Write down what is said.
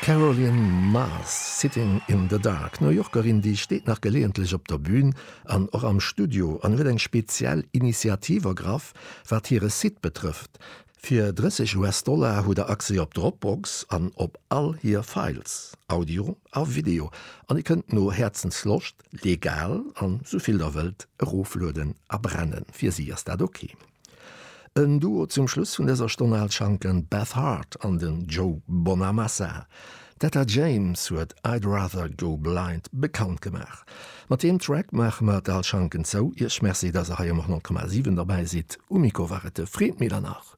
Caroline Mars, Sitting in the Dark. D'New Yorkerin, déi steet nach geleeëntlech op der Bün an och am Studio an huet eng speziell Initiativ ergraff, wat hire Site betrëfft. Fir 30 US-Dollar hutt der Accès op Dropbox an op all hir Files, Audio a Video, an dir kënnt no Häerzensloscht legal an souvill der wëllt eroflueden a brennen. Fir si ass dat ok. En Duo zum Schluss vun dëser Stonn Al Schanken, Beth Hart an den Joe Bonamassa. D'Etta James huet I'd Rather Go Blind bekannt gemaach. Mat deem Track maache mer d'Al Schanken zou. Iech Merci, dass der hei um 100,7 derbäi sidd. Um Mikro war et de Fred Medernach.